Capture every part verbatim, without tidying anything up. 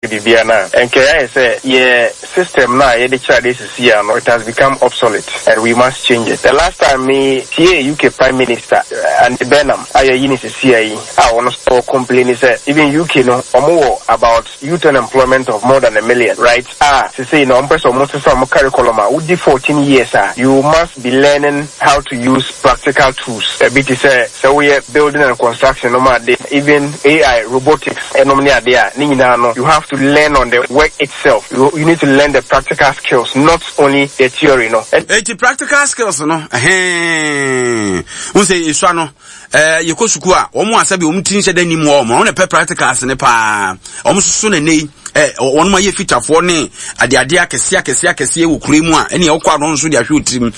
Biribiara no a ɛnkɛ ayɛ sɛ yɛ system no a yɛde kyerɛ ade sisi a no, it has become obsolete and we must change it. The last time me tie U K Prime Minister uh, Andy Burnham a yɛyi ne sisi a yi a ɔno nso complain sɛ even U K no, ɔmo wɔ about youth unemployment of more than a million, right? A sisi na ɔmo pɛ sɛ ɔmo sesa ɔmo curriculum a wodi fourteen years a, you must be learning how to use practical tools. Ebi te sɛ sɛ woyɛ building and construction no ma ade, even A I, robotics ɛnom ne ade a ne nyinaa no, you have to learn on the work itself. you, you need to learn the practical skills, not only the theory no. Eti practical skills no, ɛhɛn n sɛ esua no, ɛɛ yɛkɔ sukuu a, wɔn a sɛbi wɔn ti nhyɛ dɛ nim wɔn, wɔn na pɛ practicals ne paa. Wɔn soso na ne yi ɛ wɔn ayɛ fitafoɔ ne adeade akɛseɛ akɛseɛ akɛseɛ wɔ kuro mu a, ɛne ɛwɔkɔ ano nso de ahwɛ otirim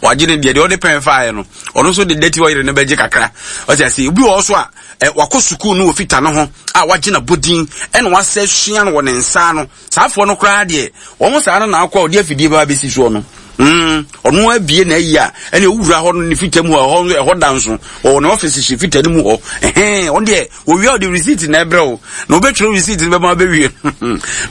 wagye ne deɛ deɛ ɔde pɛn faeɛ no, ɔno nso de dɛti ɔyere ne bɛgye kakra. Ɔte ase, obi wɔ hɔ so a ɛ wakɔ sukuu no wɔ fita no ho a, wagye na bodin ɛna wasɛ sua no wɔ ne nsa no. Saa afoɔ no koraa deɛ, wɔn saa no na akɔ a ɔde afidie ba abɛsi soɔ no, mm ɔno abie na ayi a, ɛna owura hɔ no ne fita mu hɔ, ɛhɔ ɛhɔ da nso ɔwɔ ne ɔfisi hyɛ fita no mu hɔ. Ɛhɛn, ɔno deɛ owia, ɔde receipt na ɛbrɛ wo na ɔbɛtwerɛ receipt no bɛma bɛwie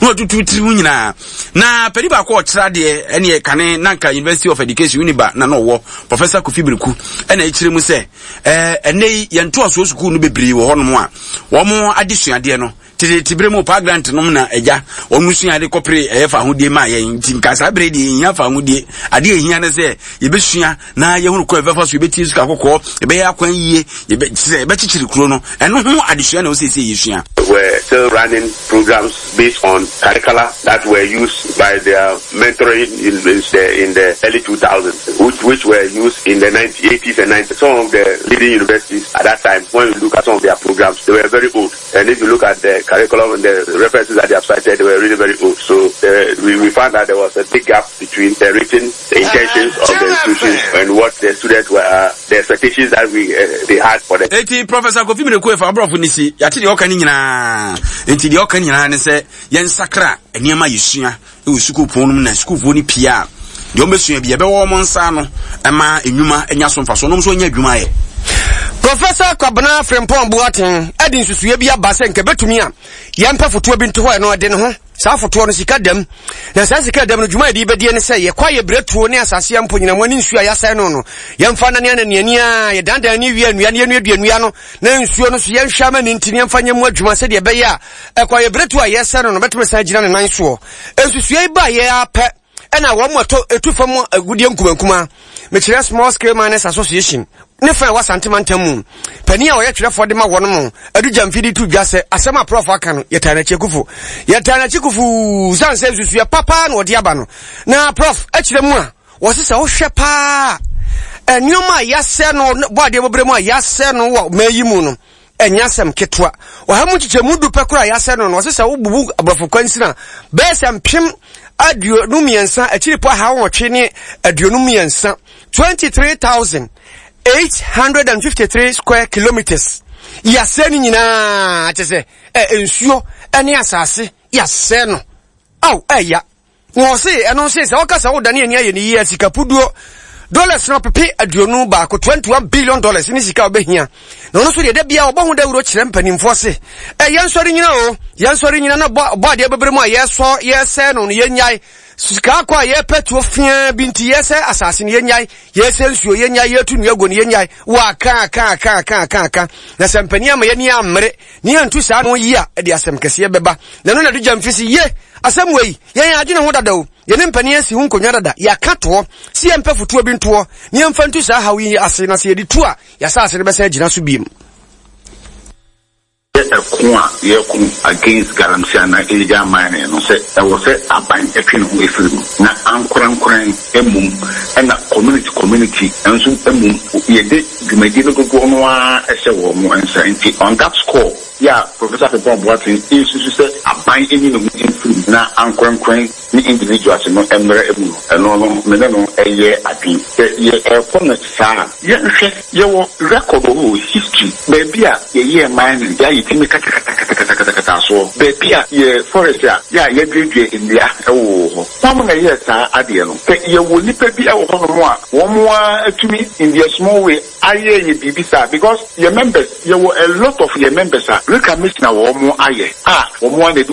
na watutu tiri mu nyinaa. Na panin baako a ɔkyerɛ adeɛ, ɛne kane nanka University of Education, UNIBA, na na ɔwɔ Professor Kofi Biriku, ɛna ɛkyerɛ mu sɛ ɛɛ ɛnɛ yi yɛn ntoasoɔ sukuu no bebree wɔ hɔnom a, wɔn adesuadeɛ no tete bere mu pa grant nom na agya wɔn sua ade kɔpere ɛyɛ fa ahodie maa yɛn. Nti nka saa bere deɛ, yɛhia fa ahodie adeɛ, ehia ne sɛ yɛbɛsua na yɛhunu kɔ yɛbɛfa so, yɛbɛtie sika kɔkɔɔ, yɛbɛyɛ akwan yie, yɛbɛ sɛ yɛbɛkyekyere kuro no. Ɛno ho adesua na wɔsiesie yɛsua. Were still running programs based on curricula that were used by their mentoring in, in, the, in the early two thousands, which, which were used in the nineteen eighties and nineties. Some of the leading universities at that time, when you look at some of their programs, they were very old. And if you look at the curriculum and the references that they have cited, they were really very old. So uh, we, we found that there was a big gap between the written the intentions of the institutions and what the students were, uh, the expectations that we uh, they had for them. Eti Professor Kofi Mireku efa aborɔfo ne si yɛate deɛ ɔka ne nyinaa. Nti deɛ ɔka nyinaa ne sɛ yɛnsakra nneɛma yɛsua ɛwɔ sukuu pɔn no mu, na sukuufoɔ no pii a, deɛ ɔmbɛsua bi yɛbɛwɔ wɔn nsa no ɛma enwuma anya so mfaso ɔnom nso anya adwuma yɛ. Professor Kwabena Frimpong Boateng ɛde nsusuɛ bi aba sɛ nka bɛtumi a yɛmpɛ fotoɔ bi nto hɔ. Ɛno ɛde ne ho saa fotoɔ no sika dam, na saa sika dam no, dwuma yɛde bɛdie ne sɛ yɛkɔ ayɛ berɛtuo ne asase mpo nyinamoa ne nsuo a yɛasɛe no no yɛmfa nane ananiani a yɛdandan ne wie nnua ne yɛnuadua nnua no, na nsuo no so yɛnhwɛ ama ne nti ne yɛmfa nyɛ mu adwuma sɛdeɛ ɛbɛyɛ a ɛkɔ ayɛ berɛtuo a yɛsɛ no no bɛtumi san gyina ne nan soɔ. Nsusua yi ba yɛ apɛ ɛna wɔn mu ɛtɔ etu fam agudeɛ nkumankuma, mekyerɛ Small Scale Miners Association ne fa a ɛwɔ Asantema ntam mu panin a ɔyɛ twerɛfoɔ de ma wɔn mo Adu Gyamfi to dwa sɛ asɛm a Prof aka no, yɛtaa n'akyi kufu, yɛtaa n'akyi kufu, san sɛ nsusua papa na ɔde aba no. Na Prof akyerɛ mu a wɔse sɛ wohwɛ paa, nneɛma a yɛasɛ no bɔ adeɛ bɔbrɛ mu a yɛasɛ no wɔ mmaa yi mu no, ɛnyɛ asɛm ketewa. Ɔha mu nkyekyɛmu du pɛ koraa yɛasɛ no no ɔse sɛ wobubu aborɔfo kwansini a, bɛyɛ sɛ mpem aduonu mmiɛnsa akyiri pɔ aha wɔtwe ne aduonu mmiɛnsa, twenty three thousand eight hundred and fifty three square kilometers yɛasɛ no nyinaa, kyɛ sɛ ɛ nsuo ne asase yɛasɛ no. Aw, ɛya na ɔse ɛno nso sɛ wɔka sɛ wodane ani ayɛ ne yie, sika puduo dollars no pepe aduonu baako, twenty one billion dollars ne sika a wobɛhia. Na ɔno nso deɛ, da bia ɔbɔ ho dawuro kyerɛ mpanimfoɔ se ɛ yɛnsɔre nyina o, yɛnsɔre nyina na bɔ bɔ adeɛ bebree mu a yɛsɔ yɛsɛ no no yɛnyae. Sika akɔ a yɛpɛ tuo fia bi nti yɛsɛ asase no, yɛnyae. Yɛsɛ nsuo, yɛnyae. Yɛtu nnua gu no, yɛnyae. Waka aka aka aka aka aka na sɛ mpanin ama yɛni ammere ne yɛntu saa no yi a, ɛde asɛm kɛseɛ bɛba. Na ɛno na de Gyamfi si ye asɛm wei, yɛn adwene ho dada o, yɛne mpanin asi ho nkonnwa dada, yɛaka toɔ si yɛmpɛ fotoɔ bi ntoɔ ne yɛmfa ntu saa haw yi ase, na sɛ yɛde tu a, yɛasase no bɛsɛ agyina so biem. Yɛ ɛko a yɛko against galamsey anaa illegal mining no, sɛ ɛwɔ sɛ aban ɛtwe ne ho efiri mu na ankorankoran mmom, ɛna community community nso mmom, yɛde dwumadie no dodoɔ no ara ɛhyɛ wɔn mo nsa. Nti on that score, yɛ a Professor Frimpong Boateng nsusu sɛ aban enyi ne ho mfiri mu na ankorankoran ne individuals no mmerɛ mu no, ɛno no me ne no ɛyɛ adwene sɛ yɛ ɛkɔ no saa. Yɛnhwɛ, yɛwɔ record wɔ hɔ, history, baabi a yɛyɛɛ mining yɛ a yɛtumi katakatakatakatakatakata soɔ, baabi a yɛ forest a yɛ a yɛduadua nnua ɛwɔ hɔ. Wɔn na yɛyɛ saa adeɛ no sɛ yɛwɔ nipa bi ɛwɔ hɔnom a wɔn a atumi in their small way ayɛ yɛ biribi saa, because yɛ members, yɛwɔ a lot of yɛ members a reclamation a wɔn ayɛ a wɔn a na ɛde